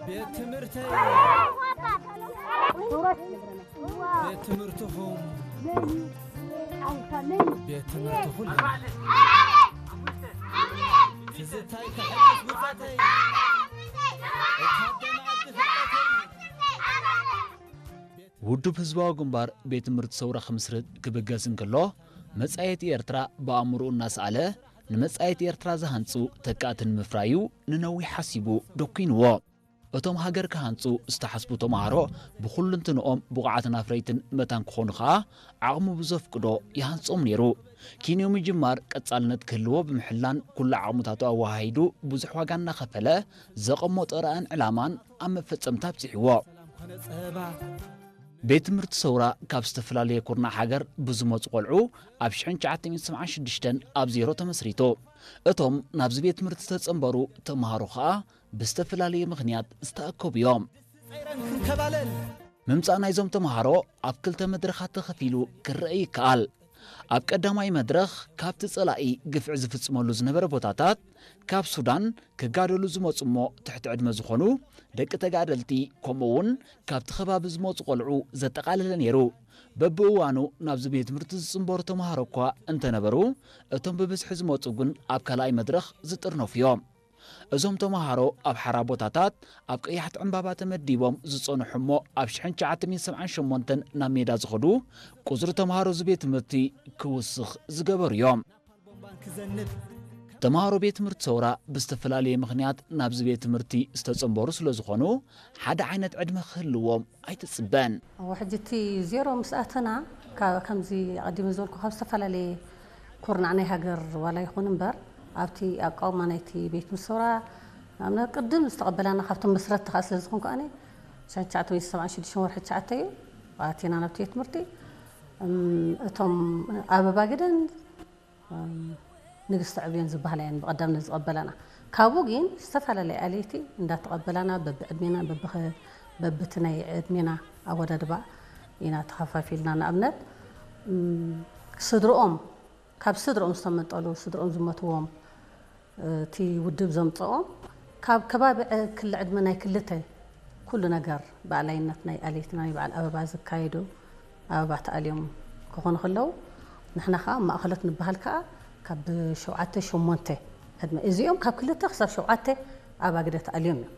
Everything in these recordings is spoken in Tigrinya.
ቤት ትምህርተይ፣ ቤት ትምህርትኹም፣ ቤት ትምህርትኹም። ትዝታይ ተሐድስ ብጻተይ፣ እታ ደም ዓዲ ፍልጠተይ። ውድብ ህዝባዊ ግንባር ቤት ትምህርቲ ሰውራ ክምስርት ክብገስ እንከሎ፣ መጻኢት ኤርትራ ብኣእምሮኡ እናሰኣለ፣ ንመጻኢት ኤርትራ ዝሃንጹ ተካእቲ ንምፍራዩ ንነዊሕ ሓሲቡ ደኲንዎ። እቶም ሃገር ክሃንጹ ዝተሓስቡ ተማሃሮ ብኹልንትንኦም ብቑዓትን ኣፍረይትን መታን ክኾኑ ከኣ ዓቕሙ ብዘፍቅዶ ይሃንጾም ነይሩ። ኪንዮ ምጅማር ቀጻልነት ክህልዎ ብምሕላን ኩሉ ዓቕምታቱ ኣወሃሂዱ ብዙሕ ዋጋ እናኸፈለ ዘቐመጦ ራእን ዕላማን ኣብ መፈጸምታ ኣብጺሕዎ። ቤት ትምህርቲ ሰውራ ካብ ዝተፈላለየ ኩርናዕ ሃገር ብዝመጹ ቆልዑ ኣብ ሽሕን ትሽዓተ ሚእትን ሰብዓን ሽዱሽተን ኣብ ዜሮ ተመስሪቱ። እቶም ናብዚ ቤት ትምህርቲ ዝተጸንበሩ ተምሃሮ ኸኣ ብዝተፈላለየ ምኽንያት ዝተኣከቡ እዮም። ምምጻእ ናይዞም ተምሃሮ ኣብ ክልተ መድረኻት ተኸፊሉ ክረአ ይከኣል። ኣብ ቀዳማይ መድረኽ ካብቲ ጸላኢ ግፍዒ ዝፍጽመሉ ዝነበረ ቦታታት፣ ካብ ሱዳን ክጋደሉ ዝመጹ እሞ ትሕቲ ዕድመ ዝኾኑ ደቂ ተጋደልቲ፣ ከምኡ እውን ካብቲ ከባቢ ዝመጹ ቆልዑ ዘጠቓለለ ነይሩ። በብእዋኑ ናብዚ ቤት ትምህርቲ ዝጽንበሩ ተምሃሮ እኳ እንተነበሩ፣ እቶም ብብዝሒ ዝመጹ ግን ኣብ ካልኣይ መድረኽ ዝጥርነፉ እዮም። እዞም ተምሃሮ ኣብ ሓራ ቦታታት ኣብ ቀያሕቲ ዕምባባ ተመዲቦም ዝጸንሑ እሞ ኣብ ሽሕን ትሽዓተ ሚእትን ሰብዓን ሸሞንተን ናብ ሜዳ ዝኸዱ ቁጽሪ ተምሃሮ እዚ ቤት ትምህርቲ ክውስኽ ዝገበሩ እዮም። ተምሃሮ ቤት ትምህርቲ ሰውራ ብዝተፈላለየ ምኽንያት ናብዚ ቤት ትምህርቲ ዝተጸንበሩ ስለ ዝኾኑ ሓደ ዓይነት ዕድመ ክህልዎም ኣይትጽበን። እወ፣ ሕጂ እቲ ዜሮ ምስ ኣተና፣ ካብ፣ ከምዚ ኣቐዲመ ዝበልኩ፣ ካብ ዝተፈላለየ ኩርናዕ ናይ ሃገር ዋላ ይኹን እምበር፣ ኣብቲ ኣቃውማ ናይቲ ቤት ምሰውራ፣ ንኣብነት፣ ቅድም ዝተቐበላና ካብቶም መስረትቲ ከኣ ስለ ዝኾንኩ ኣነ፣ ትሽዓተ ሚእቲ ሰብዓን ሽዱሽተን ወርሒ ትሽዓተ እዩ ኣቲና ናብቲ ቤት ትምህርቲ። እም፣ እቶም ኣበባ ግደን፣ እም፣ ንግስቲ ዕብዮን ዝበሃላ እየን ብቐዳምነት ዝቐበላና። ካብኡ ግን ዝተፈላለያ ኣለይቲ እንዳተቐበላና፣ በብዕድሜና፣ በብኸ-፣ በብቲ ናይ ዕድሜና ኣወዳድባ ኢና ተኸፋፊልና። ንኣብነት፣ እም፣ ስድርኦም፣ ካብ ስድርኦም ዝተመንጠሉ፣ ስድርኦም ዝሞትዎም፣ እቲ ውድብ ዘምጽኦም፣ ካብ ከባቢ ዕ-፣ ክሊ ዕድመ ናይ ክልተ፣ ኩሉ ነገር ብኣላይነት ናይ ኣለይትና ናይ በዓል ኣበባ ዝካየዱ፣ ኣበባ ተኣልዮም ክኾኑ ከለዉ፣ ንሕና ከኣ ማእኸሎት ንበሃል ከኣ ካብ ሸውዓተ፣ ሸሞንተ ዕድመ፣ እዚኦም ካብ ክልተ ክሳብ ሸውዓተ ኣብ ኣግደ ተኣልዮም እዮም።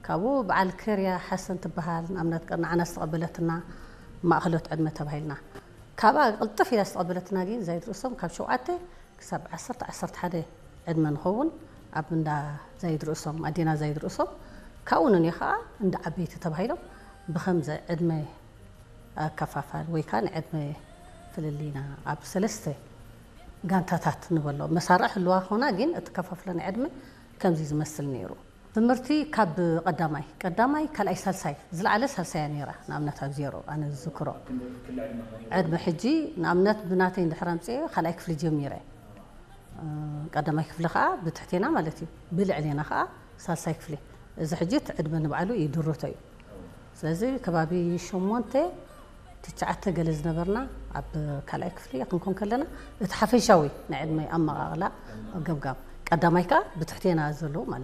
ካብኡ በዓል ከርያ ሓሰን ትበሃል፣ ንኣብነት፣ ንዓና ዝተቐበለትና ማእኸሎት ዕድመ ተባሂልና። ካብኣ ቅልጥፍ ኢላ ዝተቐበለትና ግን ዛይድ ርእሶም ካብ ሸውዓተ ክሳብ ዓሰርተ፣ ዓሰርተ ሓደ ዕድመ ንኸውን ኣብ እንዳ ዛይድ ርእሶም፣ ኣዴና ዛይድ ርእሶም። ካብኡ ንንዮ ከዓ እንዳ ዓበይቲ ተባሂሎም ብኸምዚ ዕድመ ኣከፋፋል ወይ ከዓ ናይ ዕድመ ፍልልይና ኣብ ሰለስተ ጋንታታት ንበሎ። መሳርዕ ህልዋ ኾና ግን እቲ ከፋፍሎ ናይ ዕድመ ከምዚ ዝመስል ነይሩ። ትምህርቲ ካብ ቀዳማይ፣ ቀዳማይ፣ ካልኣይ፣ ሳልሳይ፣ ዝለዓለ ሳልሳይ እያ ነይራ። ንኣብነት ኣብ ዜሮ ኣነ ዝዝክሮ ዕድመ ሕጂ ንኣብነት ብናተይ እንድሕር ኣምፅኤ ካልኣይ ክፍሊ ጀሚረ። እ፣ ቀዳማይ ክፍሊ ከዓ ብትሕቴና ማለት እዩ። ብልዕሌና ከዓ ሳልሳይ ክፍሊ። እዚ ሕጂ እቲ ዕድመ ንባዕሉ እዩ ድርቶ እዩ። ስለዚ ከባቢ ሸሞንተ ትሽዓተ ገለ ዝነበርና ኣብ ካልኣይ ክፍሊ ክንኮን ከለና እቲ ሓፈሻዊ ናይ ዕድመ ኣመቓቕላ ገምጋም ቀዳማይ ከዓ ብትሕቴና ዘሎ ማለት እዩ።